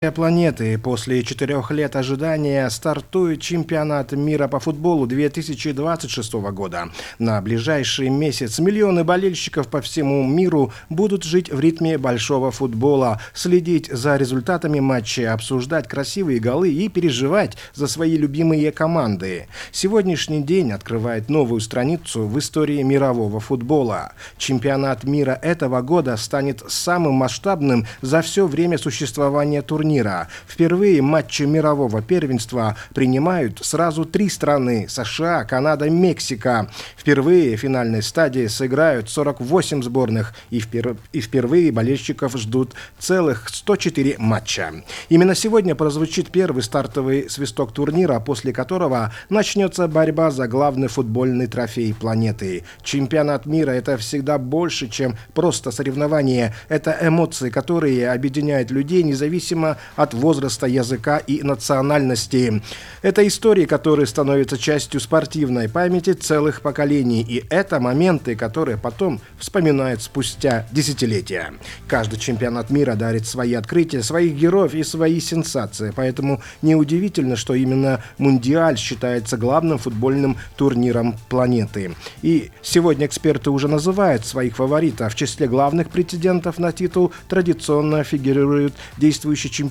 Планеты. После 4 лет ожидания стартует чемпионат мира по футболу 2026 года. На ближайший месяц миллионы болельщиков по всему миру будут жить в ритме большого футбола, следить за результатами матчей, обсуждать красивые голы и переживать за свои любимые команды. Сегодняшний день открывает новую страницу в истории мирового футбола. Чемпионат мира этого года станет самым масштабным за все время существования турнира. Впервые матчи мирового первенства принимают сразу 3 страны – США, Канада, Мексика. Впервые в финальной стадии сыграют 48 сборных, и впервые болельщиков ждут целых 104 матча. Именно сегодня прозвучит первый стартовый свисток турнира, после которого начнется борьба за главный футбольный трофей планеты. Чемпионат мира – это всегда больше, чем просто соревнование. Это эмоции, которые объединяют людей независимо от возраста, языка и национальности. Это истории, которые становятся частью спортивной памяти целых поколений. И это моменты, которые потом вспоминают спустя десятилетия. Каждый чемпионат мира дарит свои открытия, своих героев и свои сенсации. Поэтому неудивительно, что именно Мундиаль считается главным футбольным турниром планеты. И сегодня эксперты уже называют своих фаворитов. В числе главных претендентов на титул традиционно фигурируют действующие чемпионы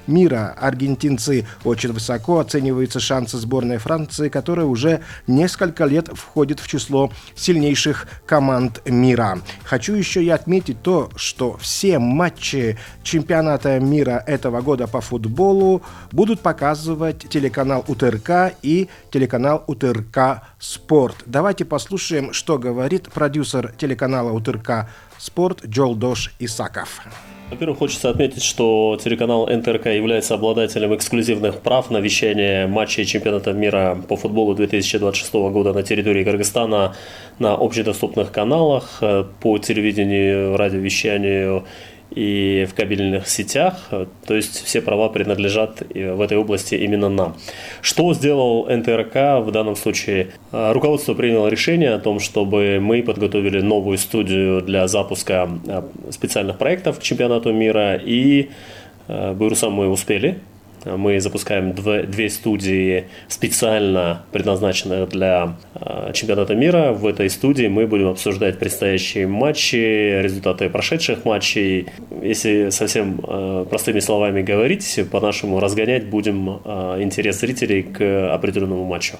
мира. Аргентинцы. Очень высоко оцениваются шансы сборной Франции, которая уже несколько лет входит в число сильнейших команд мира. Хочу еще и отметить то, что все матчи чемпионата мира этого года по футболу будут показывать телеканал УТРК и телеканал УТРК Спорт. Давайте послушаем, что говорит продюсер телеканала УТРК Спорт Джолдош Исаков. Во-первых, хочется отметить, что телеканал НТРК является обладателем эксклюзивных прав на вещание матчей чемпионата мира по футболу 2026 года на территории Кыргызстана на общедоступных каналах, по телевидению, радиовещанию и в кабельных сетях. То есть все права принадлежат в этой области именно нам. Что сделал НТРК в данном случае? Руководство приняло решение о том, чтобы мы подготовили новую студию для запуска специальных проектов к чемпионату мира. И Буйрусам мы успели. Мы запускаем 2 студии, специально предназначенных для чемпионата мира. В этой студии мы будем обсуждать предстоящие матчи, результаты прошедших матчей. Если совсем простыми словами говорить, по-нашему разгонять будем интерес зрителей к определенному матчу.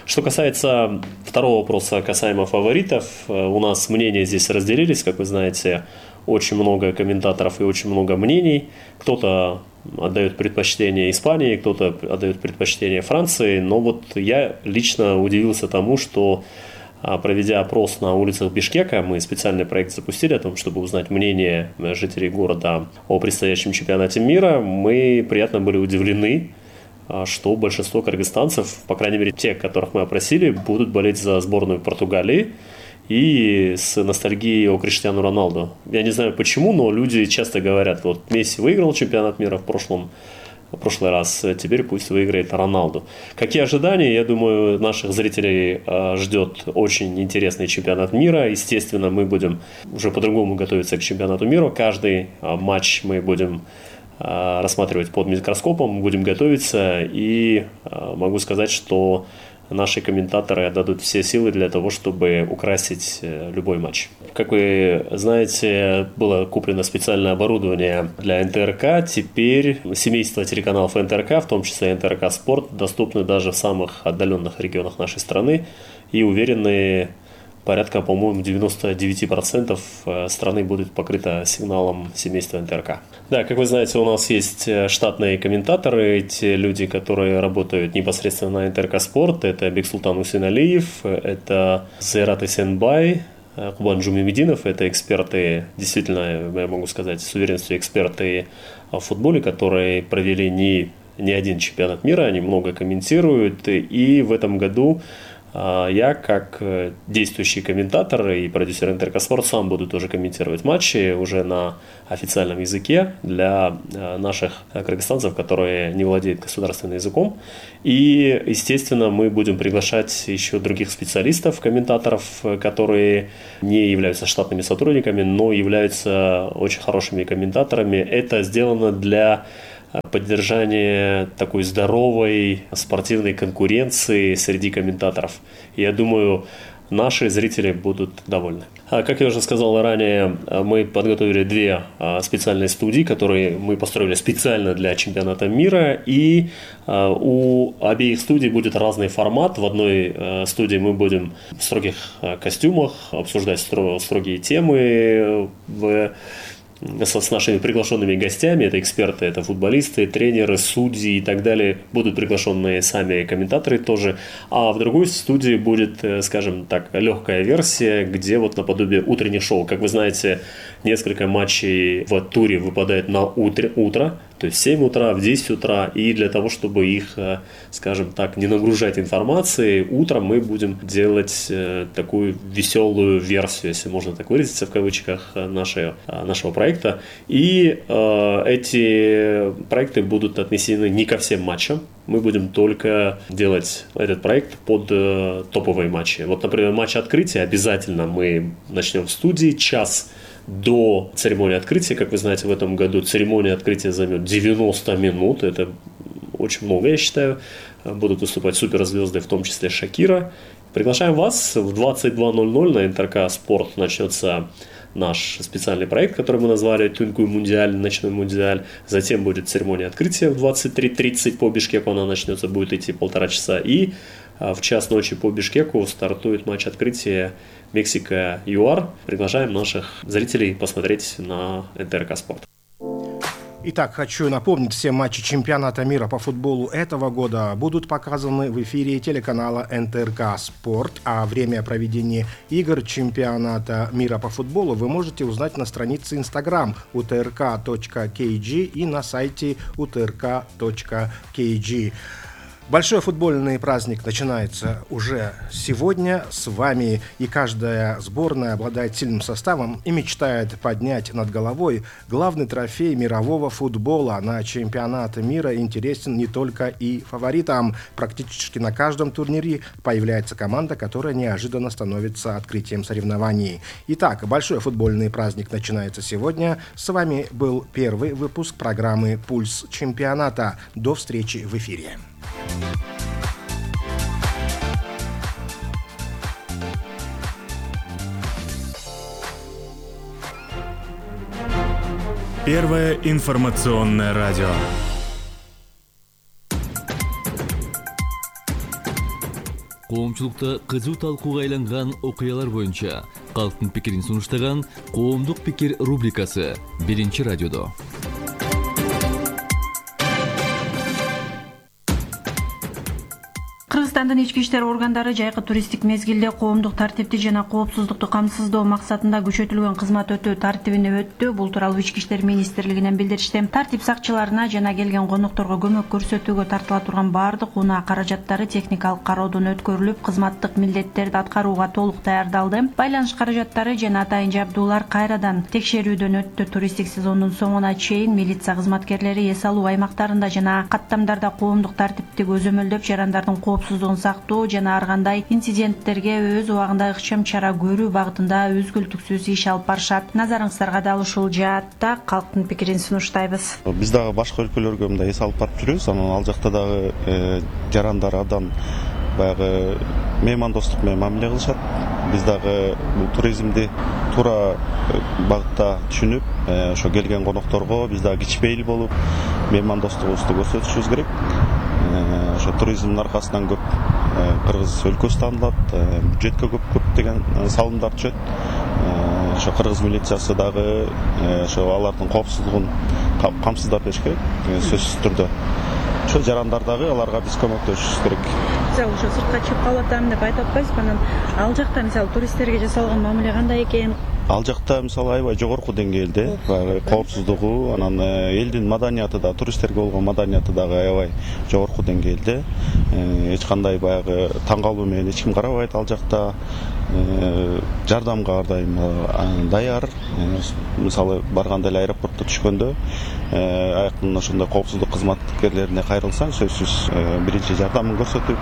Что касается второго вопроса касаемо фаворитов, у нас мнения здесь разделились, как вы знаете. Очень много комментаторов и очень много мнений. Кто-то отдает предпочтение Испании, кто-то отдает предпочтение Франции. Но вот я лично удивился тому, что, проведя опрос на улицах Бишкека, мы специальный проект запустили о том, чтобы узнать мнение жителей города о предстоящем чемпионате мира. Мы приятно были удивлены, что большинство кыргызстанцев, по крайней мере те, которых мы опросили, будут болеть за сборную Португалии и с ностальгией о Криштиану Роналду. Я не знаю почему, но люди часто говорят, вот Месси выиграл чемпионат мира в прошлый раз, теперь пусть выиграет Роналду. Какие ожидания? Я думаю, наших зрителей ждет очень интересный чемпионат мира. Естественно, мы будем уже по-другому готовиться к чемпионату мира. Каждый матч мы будем рассматривать под микроскопом, будем готовиться, и могу сказать, что наши комментаторы отдадут все силы для того, чтобы украсить любой матч. Как вы знаете, было куплено специальное оборудование для НТРК. Теперь семейство телеканалов НТРК, в том числе НТРК Спорт, доступны даже в самых отдаленных регионах нашей страны. И уверены, порядка, по-моему, 99% страны будет покрыто сигналом семейства НТРК. Да, как вы знаете, у нас есть штатные комментаторы, те люди, которые работают непосредственно на НТРК Спорт. Это Бексултан Усейналиев, это Зайрат Исенбай, Кубан Джумимединов. Это эксперты, действительно, я могу сказать с уверенностью, эксперты в футболе, которые провели не один чемпионат мира, они много комментируют. И в этом году я, как действующий комментатор и продюсер НТРК Спорт, сам буду тоже комментировать матчи уже на официальном языке для наших кыргызстанцев, которые не владеют государственным языком. И, естественно, мы будем приглашать еще других специалистов, комментаторов, которые не являются штатными сотрудниками, но являются очень хорошими комментаторами. Это сделано для поддержание такой здоровой спортивной конкуренции среди комментаторов. Я думаю, наши зрители будут довольны. Как я уже сказал ранее, мы подготовили 2 специальные студии, которые мы построили специально для чемпионата мира. И у обеих студий будет разный формат. В одной студии мы будем в строгих костюмах обсуждать строгие темы с нашими приглашенными гостями. Это эксперты, это футболисты, тренеры, судьи и так далее. Будут приглашенные сами комментаторы тоже. А в другой студии будет, скажем так, легкая версия, где вот наподобие утренних шоу. Как вы знаете, несколько матчей в туре выпадает на утро, то есть в 7 утра, в 10 утра. И для того, чтобы их, скажем так, не нагружать информацией, утром мы будем делать такую веселую версию, если можно так выразиться, в кавычках, нашего проекта. И эти проекты будут отнесены не ко всем матчам. Мы будем только делать этот проект под топовые матчи. Вот, например, матч открытия обязательно мы начнем в студии час до церемонии открытия. Как вы знаете, в этом году церемония открытия займет 90 минут. Это очень много, я считаю. Будут выступать суперзвезды, в том числе Шакира. Приглашаем вас. В 22:00 на НТРК «Спорт» начнется наш специальный проект, который мы назвали «Тункуй Мундиаль», «Ночной Мундиаль». Затем будет церемония открытия в 23:30 по Бишкеку. Она начнется, будет идти 1,5 часа. И в час ночи по Бишкеку стартует матч открытия Мексика-ЮАР. Приглашаем наших зрителей посмотреть на НТРК «Спорт». Итак, хочу напомнить, все матчи чемпионата мира по футболу этого года будут показаны в эфире телеканала НТРК «Спорт», а время проведения игр чемпионата мира по футболу вы можете узнать на странице Instagram utrk.kg и на сайте utrk.kg. Большой футбольный праздник начинается уже сегодня. С вами и каждая сборная обладает сильным составом и мечтает поднять над головой главный трофей мирового футбола. На чемпионат мира интересен не только и фаворитам. Практически на каждом турнире появляется команда, которая неожиданно становится открытием соревнований. Итак, большой футбольный праздник начинается сегодня. С вами был первый выпуск программы «Пульс чемпионата». До встречи в эфире. Первое информационное радио. Коомчулукта кызуу талкууга айланган окуялар боюнча калктын пикирин сунуштаган Коомдук пикир рубрикасы 1-радиодо. Кыргызстандын ички иштер органдары жайкы туристтик мезгилде коомдук тартипти жана коопсуздукту камсыздоо максатында күчөтүлгөн кызмат өтүү тартибине өттү. Бул тууралуу Ички иштер министрлигинен билдиришти. Тартип сакчыларына жана келген конокторго көмөк көрсөтүүгө тартыла турган баардык унаа каражаттары техникалык кароодон өткөрүлүп, кызматтык милдеттерди аткарууга толук даярдалды. Байланыш каражаттары жана атайын жабдуулар кайрадан текшерүүдөн өттү. Туристтик сезондун соңуна чейин милиция кызматкерлери эс алуу аймактарында жана каттамдарда коомдук тартипти көзөмөлдөп, жарандардын коопсуздугун сактоо жана ар кандай инциденттерге өз убагында ыкчам чара көрүү багытында үзгүлтүксүз иш алып барышат. Назарыңыздарга дал ушул жаатта калктын пикирин сунуштайбыз. Биз дагы башка өлкөлөргө мындай эс алып барып жүрөбүз. Анан ал жакта дагы жарандар абдан баягы меймандостук менен мамиле кылышат. Биз дагы бул туризмди туура багытта түшүнүп, ошо келген конокторго биз дагы кичпейил болуп, меймандостугубузду көрсөтүшүбүз керек. Ошо туризмдин аркасынан көп кыргыз өлкөсү таанылат, бюджетке көптөгөн салымдар түшөт. Ошо кыргыз милициясы дагы ошо алардын коопсуздугун камсыздап бериш керек, сөзсүз түрдө. Ошо жарандар дагы аларга биз көмөктөшүбүз керек. Мисалы ошо сыртка чыгып калып атам деп айтып атпайсызбы? Анан ал жакта мисалы туристтерге жасалган мамиле кандай экен? Ал жакта мисалы аябай жогорку деңгээлде, коопсуздугу, анан элдин маданияты да, туристтерге болгон маданияты дагы аябай жогорку деңгээлде. Эч кандай баягы таң калуу менен эч ким карабайт ал жакта. Жардамга ар дайым даяр. Мисалы барганда эле аэропортто түшкөндө аяктан ошондой коопсуздук кызматкерлерине кайрылсаң, сөзсүз биринчи жардамын көрсөтүп,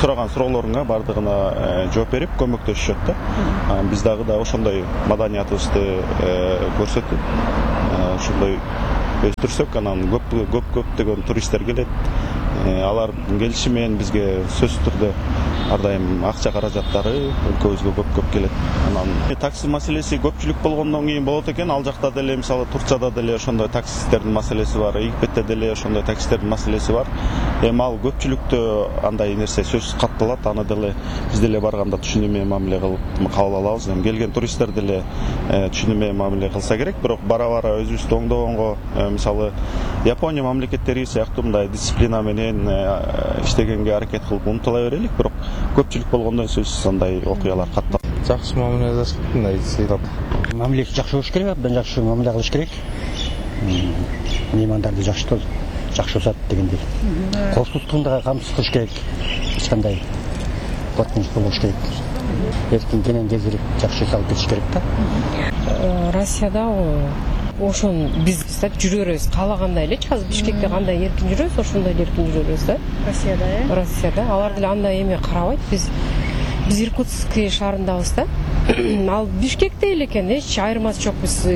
сураган суроолоруңа бардыгына жооп берип көмөктөшүшөт да. Биз дагы ошондой маданиятыбызды көрсөтүп, ошондой өстүрсөк, анан көптөгөн туристтер келет. Алар келиши менен бизге сөзсүз түрдө ар дайым акча каражаттары өлкөбүзгө көп келет. Анан такси маселеси көпчүлүк болгондон кийин болот экен. Ал жакта деле мисалы Турцияда деле ошондой таксисттердин маселеси бар, Египетте деле ошондой таксисттердин маселеси бар. Эми ал көпчүлүктө андай нерсе сөзсүз катталат. Аны деле биз деле барганда түшүнүү менен мамиле кылып кабыл алабыз. Эми келген туристтер деле түшүнүү менен мамиле кылса керек. Бирок бара өзүбүздү оңдогонго мисалы Япония мамлекеттери сыяктуу мындай дисциплина менен иштегенге аракет кылып умтула берелик. Бирок көпчүлүк болгондон сөзсүз андай окуялар катталат. Жакшы мамиле жасап, мындай сыйлап. Мамилеси жакшы болуш керек, абдан жакшы мамиле кылыш керек. Меймандарды жакшы усат дегендей. Коопсуздугун да камсыз кылыш керек. Эч кандай коркунуч болбош керек. Эркин кенен кезирип жакшы салып кетиш керек да. Россияда ошон биз жүрөбүз каалагандай элечи. Азыр Бишкекте кандай эркин жүрөбүз, ошондой эркин жүрөбүз да. Россияда алар деле андай эме карабайт. Биз Иркутск шаарындабыз да. Ал Бишкекте эле экен, эч айырмасы жок. Биз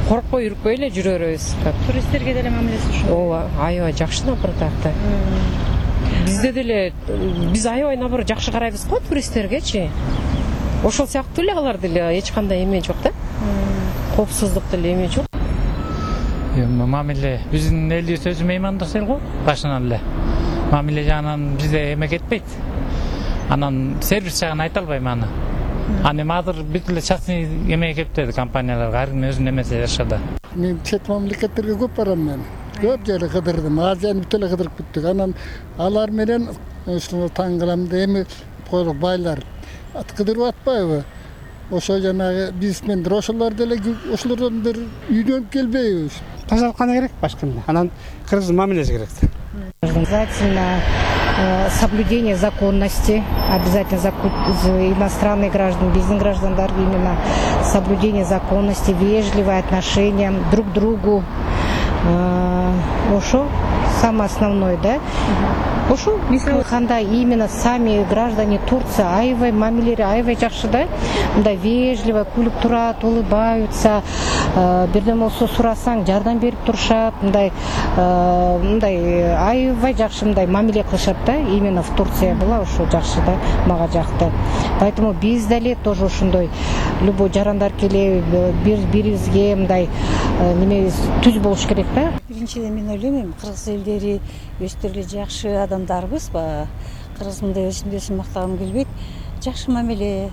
коркпой, үркпөй эле жүрөбүз. Туристтерге деле мамилеси ушул. Ооба, аябай жакшы напротакта. Бизде деле биз аябай наоборот жакшы карайбыз го туристтергечи. Ошол сыяктуу эле алар деле эч кандай эме жок да. Коопсуздук деле эме жок. Мамиле биздин элибиз өзү меймандос эл го, башынан эле. Мамиле жагынан бизде эме кетпейт. Анан сервис жагын айта албайм аны. Аны азыр бүт эле частный эме кептеди компанияларга, ар ким өзүнүн эмеси жашада. Мен чет мамлекеттерге көп барам мен. Көп жерге кыдырдым. Азияны бүт эле кыдырып бүттүк. Анан алар менен ушуну таң кылам да эми койлук байлар кыдырып атпайбы? Ошо жанагы бизнесмендер ошолор деле ошолордон бир үйдөн келбейбиз. Тазалык кана керек башкында. Анан кыргыздын мамилеси керек. Обязательно соблюдение законности, обязательно иностранные граждане, бизнес граждандар именно соблюдение законности, вежливое отношение друг к другу. Ошо самое основное, да? Ошо кандай именно сами граждане Турции аябай мамилери аябай жакшы да, мындай вежливо күлүп турат, улыбаются, бирдеме болсо сурасаң жардам берип турушат, мындай аябай жакшы мындай мамиле кылышат да, именно в Турция была ошо жакшы да, мага жакты. Поэтому биз деле тоже ошондой любой жарандар келе бирибизге мындай неме түз болуш керек да. Биринчиден мен ойлойм, кыргыз элдери өздөрү эле жакшы адамдарбыз. Кыргыз мындай өзүн мактагым келбейт. Жакшы мамиле,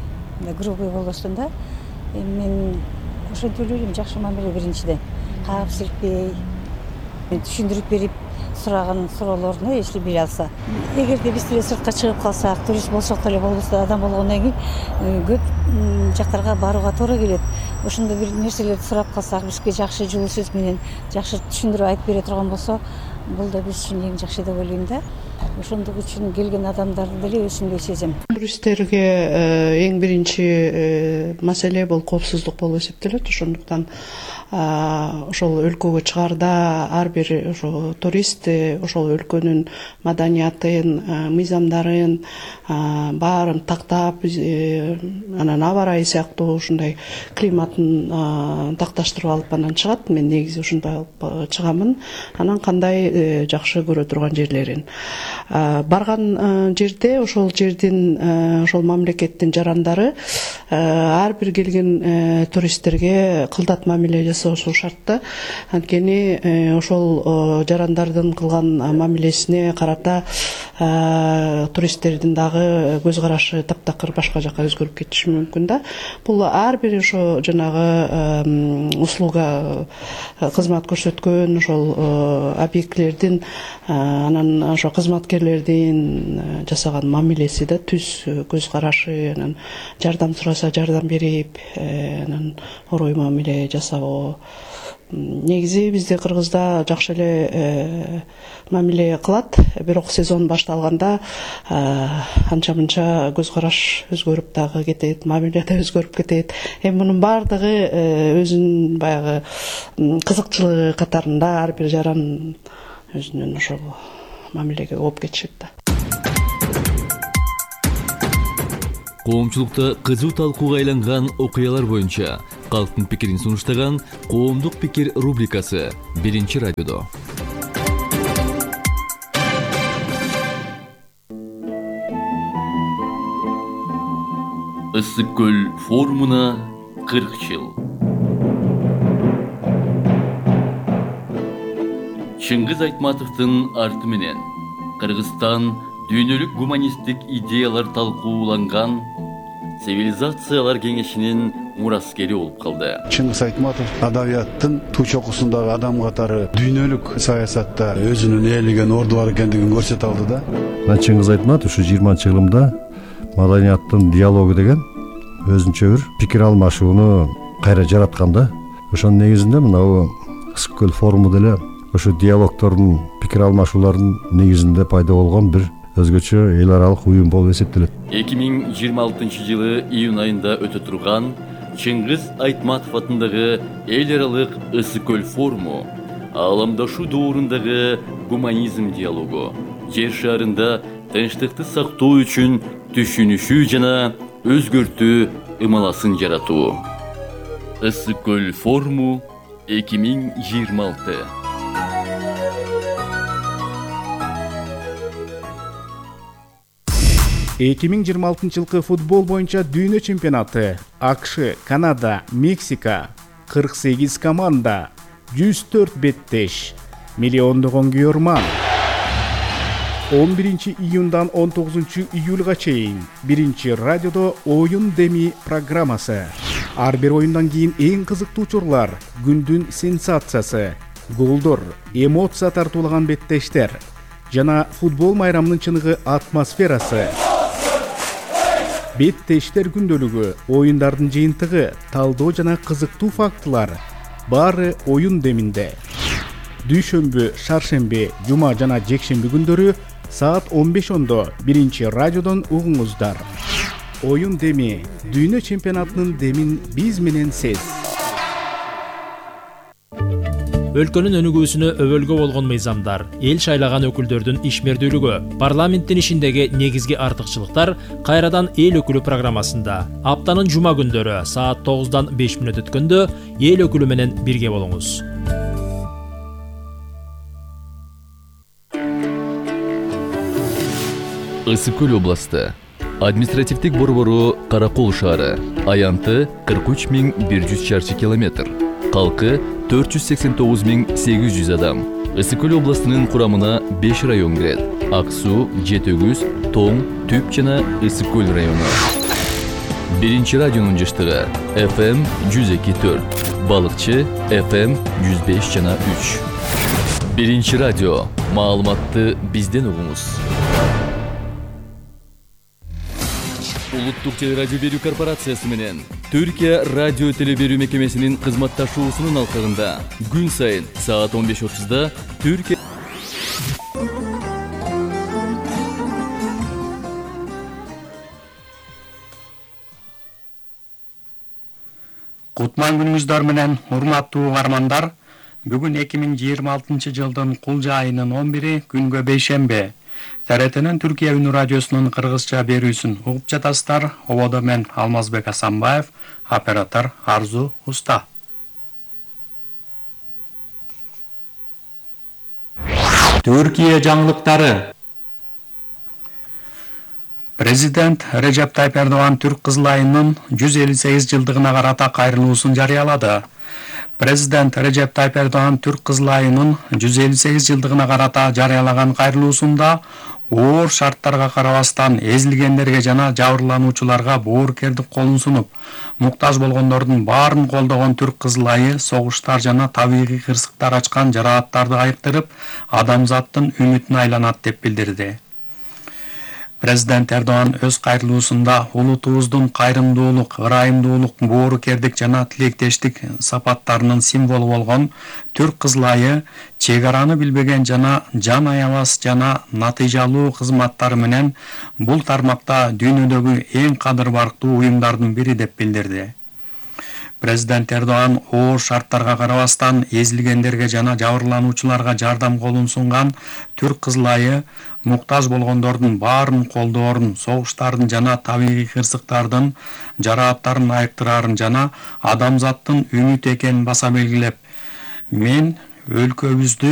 грубый болбостон да. Мен ошентип ойлойм, жакшы мамиле биринчиден. Каап силкпей, түшүндүрүп берип сураган суроолоруна эчли бере алса. Эгерде биз деле сыртка чыгып калсак, турист болсок деле болбосо адам болгондон кийин көп жактарга барууга туура келет. Ошондой бир нерселерди сурап калсак, бизге жакшы жылуу сөз менен жакшы түшүндүрүп айтып бере турган болсо, бул да биз үчүн эң жакшы деп ойлойм да. Ошондук үчүн келген адамдарды деле өзүмдөй сезем. Туристтерге эң биринчи маселе бул коопсуздук болуп эсептелет. Ошондуктан ошол өлкөгө чыгаарда ар бир ошо турист ошол өлкөнүн маданиятын, мыйзамдарын баарын тактап, анан аба ырайы сыяктуу ушундай климатын такташтырып алып анан чыгат. Мен негизи ушундай алып чыгамын. Анан кандай жакшы көрө турган жерлерин барган жерде ошол жердин ошол мамлекеттин жарандары ар бир келген туристтерге кылдат мамиле жасоосу шарт да. Анткени ошол жарандардын кылган мамилесине карата туристтердин дагы көз карашы таптакыр башка жака өзгөрүп кетиши мүмкүн да. Бул ар бир ошо жанагы услуга кызмат көрсөткөн ошол объектлердин анан ошо кызматкерлердин жасаган мамилеси да, түз көз карашы, анан жардам сураса жардам берип, анан орой мамиле жасоо. Негизи бизде Кыргызда жакшы эле мамиле кылат, бирок сезон башталганда анча-мынча көз караш өзгөрүп дагы кетет, мамиле да өзгөрүп кетет. Эми мунун баардыгы өзүнүн баягы кызыкчылыгы катарында ар бир жаран өзүнүн ошол мамилеге ооп кетишет да. Коомчулукта кызуу талкууга айланган окуялар боюнча Калктын пикирин сунуштаган коомдук пикир рубрикасы Биринчи радиодо. Ысык көл форумуна 40 жыл. Чыңгыз Айтматовдун арты менен Кыргызстан дүйнөлүк гуманисттик идеялар талкууланган цивилизациялар кеңешинин мураскери болуп калды. Чыңгыз Айтматов адабияттын туу чокусундагы адам катары дүйнөлүк саясатта өзүнүн ээлеген орду бар экендигин көрсөтө алды да. Чыңгыз Айтматов ушу 20-жылымда маданияттын диалогу деген өзүнчө бир пикир алмашууну кайра жараткан да. Ошонун негизинде мына Ысык көл форуму деле ошо диалогтордун пикир алмашуулардын негизинде пайда болгон бир өзгөчө эл аралык уюм болуп эсептелет. 2026 жылы июнь айында өтө турган Чыңгыз Айтматов атындагы эл аралык Ысык көл форуму ааламдашуу доорундагы гуманизм диалогу, жер шарында тынчтыкты сактоо үчүн түшүнүшүү жана өзгөртүү ымаласын жаратуу. Ысык көл форуму 2026. жылкы футбол боюнча дүйнө чемпионаты АКШ, Канада, Мексика 48 команда, 104 беттеш, миллиондогон күйөрман. 11 июндан 19 июлга чейин Биринчи радиодо оюн деми программасы. Ар бир оюндан кийин эң кызыктуу учурлар, күндүн сенсациясы, голдор, эмоция тартуулаган беттештер жана футбол майрамынын чыныгы атмосферасы. Беттештер күндөлүгү, оюндардын жыйынтыгы, талдоо жана кызыктуу фактылар баары оюн деминде. Дүйшөмбү, шаршемби, жума жана жекшемби күндөрү саат 15:00 Биринчи радиодон угуңуздар. Оюн деми, дүйнө чемпионатынын демин биз менен сез. Өлкөнүн өнүгүүсүнө өбөлгө болгон мыйзамдар, эл шайлаган өкүлдөрдүн ишмердүүлүгү, парламенттин ишиндеги негизги артыкчылыктар кайрадан эл өкүлү программасында. Аптанын жума күндөрү саат 9:dan 5 мүнөт өткөндө эл өкүлү менен бирге болуңуз. Ысык көл областы. Административдик борбору Каракол шаары. Аянты 43.100 чарчы километр. Калкы 489.800 адам. Ысык көл областынын курамына 5 район кирет. Ак суу, Жетөгүз, Тоң, Түп жана Ысык көл району. Биринчи радионун жыштыгы FM 102.4, Балыкчы FM 105 жана 3. Биринчи радио. Маалыматты бизден угуңуз. Улуттук телерадио берүү корпорациясы менен Түркия радио телеберүү мекемесинин кызматташуусунун алкагында күн сайын саат 15:30 Түркия Кутман күнүңүздөр менен урматтуу угармандар, бүгүн 2026 жылдын кулжа айынын 11-и күнгө бейшемби. ТРТнын Түркия үнү радиосунун кыргызча берүүсүн угуп жатасыздар. Ободо мен Алмазбек Асанбаев, оператор Арзу Уста. Түркия жаңылыктары. Президент Режеп Тайып Эрдоган Түрк кызыл айынын 158 жылдыгына карата кайрылуусун жарыялады. Президент Режеп Тайып Эрдоган Түрк кызыл айынын 158 жылдыгына карата жарыялаган кайрылуусунда оор шарттарга карабастан эзилгендерге жана жабырлануучуларга боорукердик колун сунуп, муктаж болгондордун баарын колдогон Түрк кызыл айы согуштар жана табигый кырсыктар ачкан жарааттарды айыктырып, адамзаттын үмүтүнө айланат деп билдирди. Президент Эрдоган өз кайрылуусунда улутубуздун кайрымдуулук, ырайымдуулук, боорукердик жана тилектештик сапаттарынын символу болгон Түрк кызыл айы чек араны билбеген жана жан аябас жана натыйжалуу кызматтары менен бул тармакта дүйнөдөгү эң кадыр барктуу уюмдардын бири деп билдирди. Президент Эрдоган оор шарттарга карабастан эзилгендерге жана жабырлануучуларга жардам колун сунган Түрк Кызыл айы муктаж болгондордун баарын колдоорун, согуштардын жана табигый кырсыктардын жарааттарын айыктырарын жана адамзаттын үмүт экенин баса белгилеп, мен өлкөбүздү